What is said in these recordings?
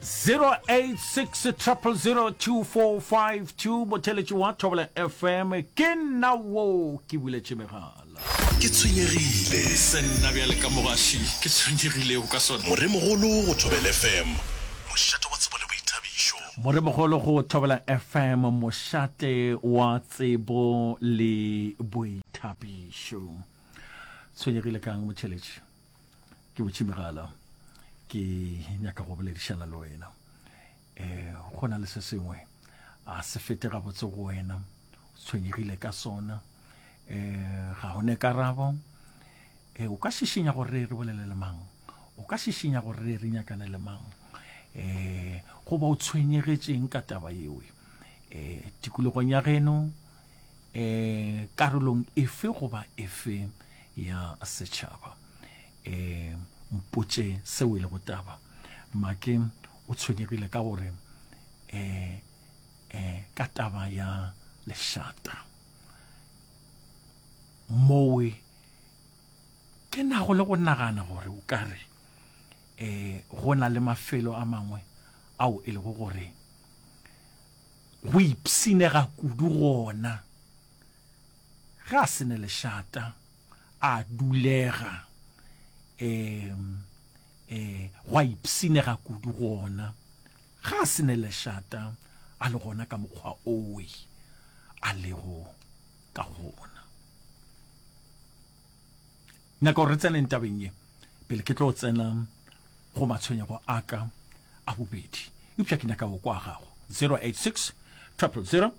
086 000 2452 motheletši wa Thobela FM ke nna wo ke buletše megala. Ke tshwenyegile. Se nna bjale ka mogaši ke tshwenyegilego ka sona. Moremogolo go Thobela FM, mošate wa tsebo le boithabišo. Moremogolo go Thobela FM, mošate wa tsebo le boithabišo. Tshwenyegile kang motheletši? Ke butše megala, ke nyaka go boledišana le wena. Um go na le se sengwe a se fete gabotse go wena, o tshwenyegile ka sona, um ga o ne karabo. Um o ka šišinya gore re bolele le mang, o ka šišinya gore re nyakane le mang, um goba o tshwenyegetšeng ka taba yewe um tikologong ya geno, um karolong efe goba efe ya setšhaba. Um mpotše seo e lego taba. Make o tshwenyegile ka gore um um ka taba ya lešata mowe ke nago le go nagana gore o ka re um go na le mafelo a mangwe ao e lego gore go ipshinega kudu gona ge a se ne lešata, a dulega, um, um, gwa ipshinega kudu gona ge a se ne lešata, a le gona ka mokgwa owe a lego ka gona. Nyaka gore re tseneng tabeng ye pele ke tlo tsena go matshwenyego a ka a bobedi, eupša ke nyaka go kwa gago. 086 000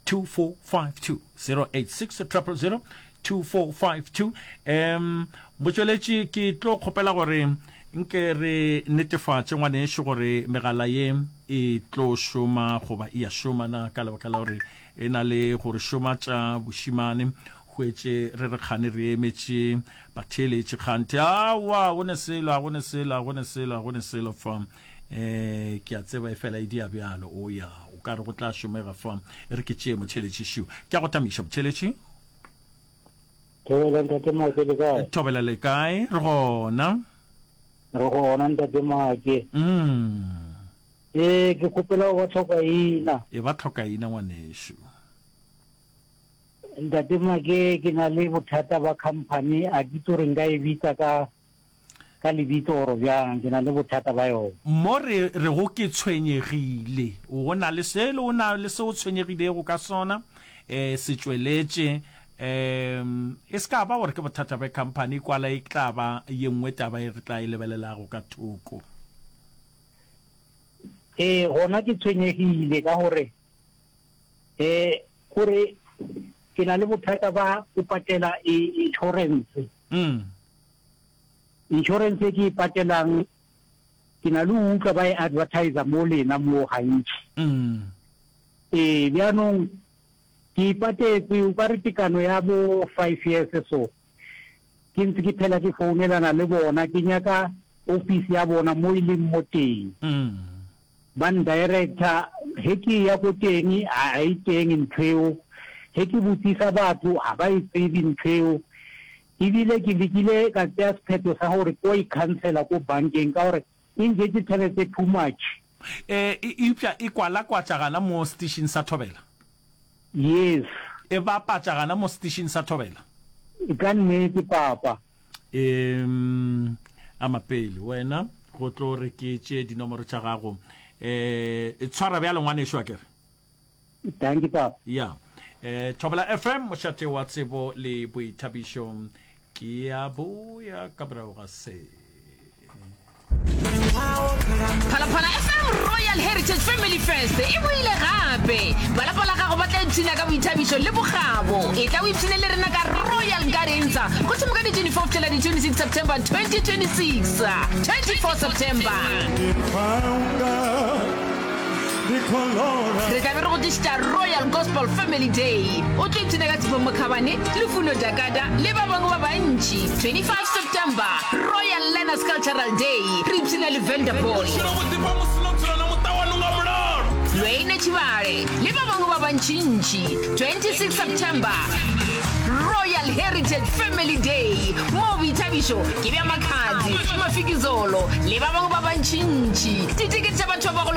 2452 086 000 2452. Um motšweletši ke tlo kgopela gore nke re netefatše ngwanešu gore megala ye e tlo šoma goba e a šoma na, ka lebaka la gore e na le gore šoma tša bošimane hwetše re re kgane re emetše Batheeletši, kganthe, aowa, go ne selo, a go ne selo, a go ne selo, a go ne selo fa. Um ke a tseba e fela e dia bjalo. O ya, o ka re go tla šomega fa. E re ke tšee motheeletši šiu. Ke a go tamiša, motheeletši. Thobela ntate Make le kae? Thobela le kae? Re gona. Re gona ntate Make. Mm. Ee, ke kgopela go ba tlhokaina. E ba tlhokaina ngwanešu. Ntate Make, ke na le bothata ba company, a ke itse gore nka e bitsa ka ka lebitso or bjang, ke na le bothata ba yona. Mo re rego ke tshwenyegile, o na le selo, o na le se o tshwenyegilego ka sona, e se tšweletše, um e se ka ba gore ke bothata bja company, kwala e tla ba ye nngwe taba e re tla e lebelelago ka thoko. Ee, gona ke tshwenyegile ka gore E, gore ke na le bothata ba go patela e, insurance. Mm. Insurance e ke e patelang, ke na le go utlwa ba e advertiser mo lena mo gantši. Mm. Ee, bjanong ke e patetse o ka re tekano ya bo five years so. Ke ntse ke phela ke founelana le bona, ke nyaka office ya bona mo e leng mo teng. Mm. Ba ndirector ge ke eya ko teng ga e teng ntho eo, ge ke botsisa batho ga ba e tsebe ntho eo. Ebile ke lekile ka tsea sephetho sa gore ko e khansela ko bankeng ka gore e njetse tšhelete too much. E, eupša e kwalakwatša gana mo setišing sa thobela? Yes. E bapatša gana mo setišing sa thobela? Ka nnete papa. Um ama pele wena go tlo re ke tše dinomoro tša gago. Um tshwara bjalo ngwanešu a kere. Thank you papa. Ya. Eh Thobela FM mošate wa tsebo le boithabišo ke ya boya ka morago ga se. Phalaphala FM Royal Heritage Family Fest e boile gape. Ba lapa la gago ba tla ipshina ka boithabišo le bokgabo. Etla o ipshine le rena ka Royal Gardens go thoma ka di 24 go fihlela di 26 September 2026. 24 September. Re tla be re go tlišetša Royal Gospel Family Day. O tlo ipshina ka Sipho Mokhabane, Lufuno Dakada le ba bangwe ba bantši. 25 September, Royal Learners Cultural Day, re ipshina le Venda Boy, Lwayne Tshibale le ba bangwe ba bantšintši. 26 September, Royal Heritage Family Day, moo boithabišo ke bja Makhadzi, Mafikizolo le ba bangwe ba bantšintši. Ditekete tša batho ba bagolo.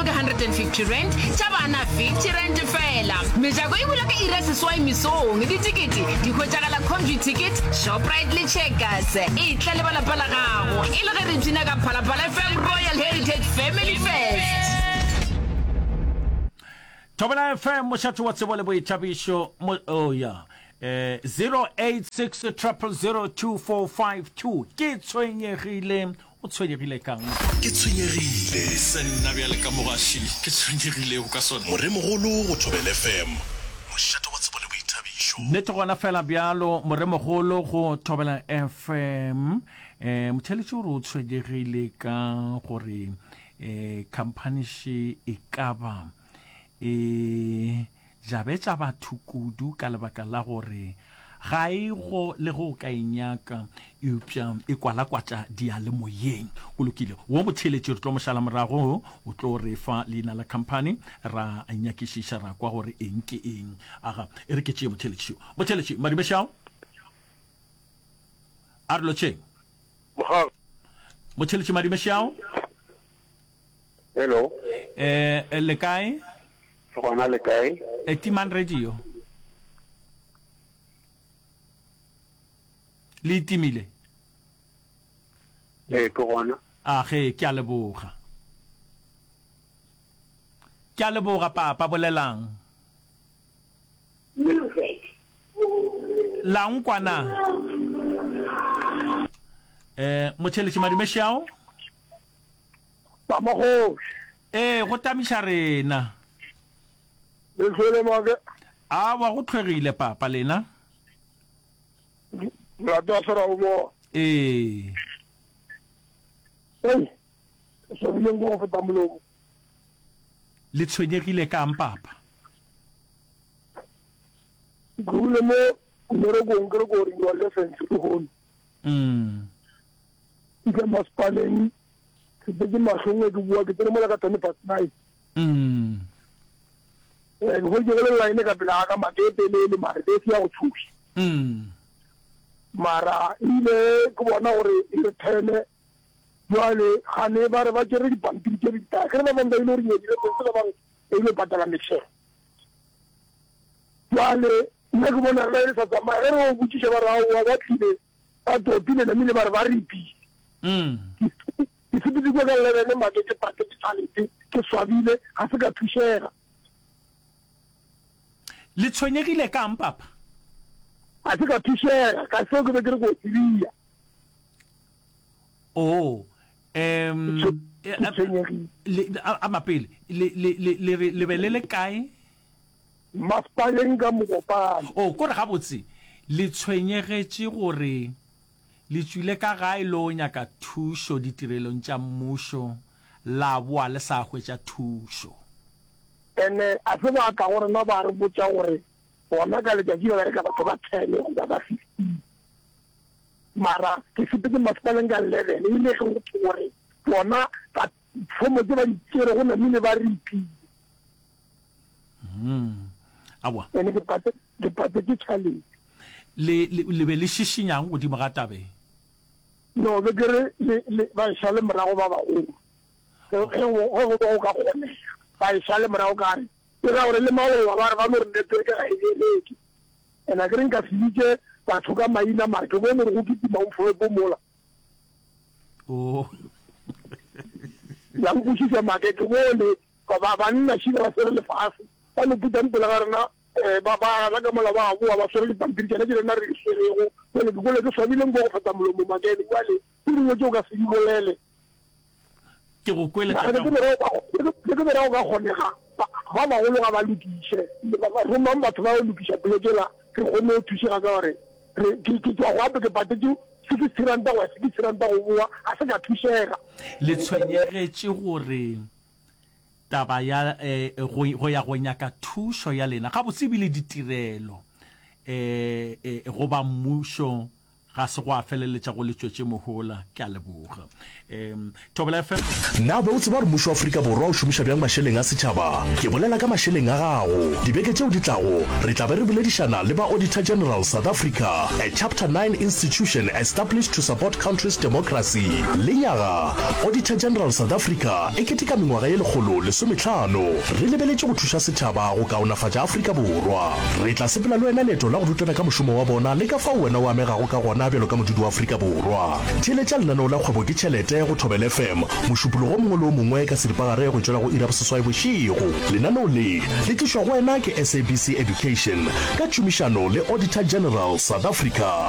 R50, tša bana R50 feela. Mejako e bula ka iri ya seswai mesong. Ditekete di hwetšagala Computicket, Shoprite le Checkers. Etla le ba lapa la gago e le ge re ipshina ka Phalaphala FM Royal Heritage Family Fest. Thobela FM, mošate wa tsebo le boithabišo. Mo, oh ya. Eh, 086 000 2452. Ke tshwenyegile. O tshwenyegile ka'ng? Ke tshwenyegile. Se nna bjale ka mogaši ke tshwenyegilego ka sona. Moremogolo go Thobela FM, mošate wa tsebo le boithabišo. Nnete gona fela bjalo, Moremogolo go Thobela FM. Eh, motheeletši o re o tshwenyegile ka gore eh, khamphani še e ka ba e jabetša batho kudu ka lebaka la gore ga e go le ge o ka e nyaka eupša e kwalakwatša diyalemoyeng. Go lokile, wo motheeletši re tlo mo šala morago, o tlo re fa leina la khamphani ra nyakišiša ra kwa gore eng ke eng. Aga, e re ke tšee motheeletši yo. Motheeletši, Madumešao, a re lotšheng. Mogang. Motheeletši Madumešao. Hello. Eh, le kae? Re gona le kae? Eh, timang radio. Le itimile? Eh, ke gona. A ge, ke a leboga. Ke a leboga papa, bolelang. Music. La nkwa na? Eh, motšheletši Madumešao? Ba magoši. Ee, go tamiša rena. Le hlwele make. Awa, go hlwegile papa, lena? Molato wa sera o bona. Ee. Ei, ke swabileng ko go feta molomo. Le tshwenyegile ka'ng papa? Ke tlogile mo mmerekong ke re ko renewa license lehono. Mm. Ke masepaleng ke tsetse mahlong ke bua ke tsene mola ka 10 past 9. Mm. Eh, ke hweditše go le line ka pele ga ka make e telele mare be se ya go tshoša. Mm. Mara ile ke bona gore e re thene jwale gane ba re ba tšere dipampiri tše di ke re ba bangwe ba ile gore nyedile sentse ba bangwe ba ile patala metšhelo. Jwale nna ke bona rena e sa tsamaya ge re o botšiša ba re aowa ba tlile Ba topile namile ba re ba ripile. Ke sepetse kua ka 11 make ke patetše tšhalete, ke swabile, ga se ka thušega. Le tshwenyegile ka'ng papa? Ga se ka thušega ka seo ke be ke re ko tsebia. Oh, um, Ke tshwenyegile. Le, a, a mapele, le, le, le, le re le be le le kae? Masepaleng ka Mokopane. Oh, kore gabotse le tshwenyegetše gore le tšwile ka gae lo nyaka thušo ditirelong tša mmušo la boa le sa hwetša thušo. Ene a se ba tla go rena ba re botša gore bona ka letšatši ba bereka batho ba ten goba ba fifteen. Mara ke sepetse masepaleng ka eleven e le ge go thwe gore bona ba fomo tše ba di tšerego namile ba ripile. Mm. Aowa. Ene ke pate ke patetše tšhalete. Le, le, le be le šišinyang godimo ga taba e? No, be ke re le, le, ba e šale morago ba bagolo. Ge, ge go, ge go be go ka kgonega, ba e šale morago ka re, e ra gore le maloba ba re ba no re network ga e bereke. And a ke re nka se bitše batho ka maina mara ke bone gore go kitima mfolopo mola. Oh. La nkwešiša make ke bone Ba, ba, banna šila ba swere lefase, ba no putang pele ga rena, eh, ba, ba gana ka mola ba boa, ba swere dipampiri tšona tše rena re di swerego. Bjale ke kwele ke swabile nko go feta molomo, Makene. Bjale, tše dingwe tše o ka se di bolele. Ke go kwele, Mara tatago. ke bera go ka, ke, ke bera go ka kgonega, ba, ba bagolo ga ba lokiše. Ba, ba, romang batho ba yo lokiša poleke yela, re kgone go thušega ka gore re, ke, ke tšwa go gape ke patetše sixty ranta go ya sixty ranta go boa, ga se ka thušega. Le tshwenyegetše gore taba ya go, go ya go nyaka thušo ya lena gabotse ebile ditirelo go ba mmušo. Ga se gwa feleletša go le tšwetše mohola. Ke a leboga. Um, Thobela FM. Na o be o tseba gore mmušo wa Afrika Borwa o šomiša bjang mašeleng a setšhaba? Ke bolela ka mašeleng a gago. Dibeke tšeo di tlago, re tla be re boledišana le ba Auditor General South Africa, a Chapter 9 institution established to support country's democracy. Lenyaga, Auditor General South Africa e keteka mengwaga ye 150 re lebeletše go thuša setšhaba go kaonafatša Afrika Borwa. Re tla sepela le wena leeto la go rutana ka mošomo wa bona le ka fao wena o amegago ka gona bjalo ka modudi wa Afrika Borwa. Theeletša lenaneo la Kgwebo ke Tšhelete go Thobela FM Mošupologo o mongwe le o mongwe ka seripagare go tšwela go iri ya boseswai bošego. Lenaneo le le tlišwa go wena ke SABC Education ka tšhomišano le Auditor General South Africa.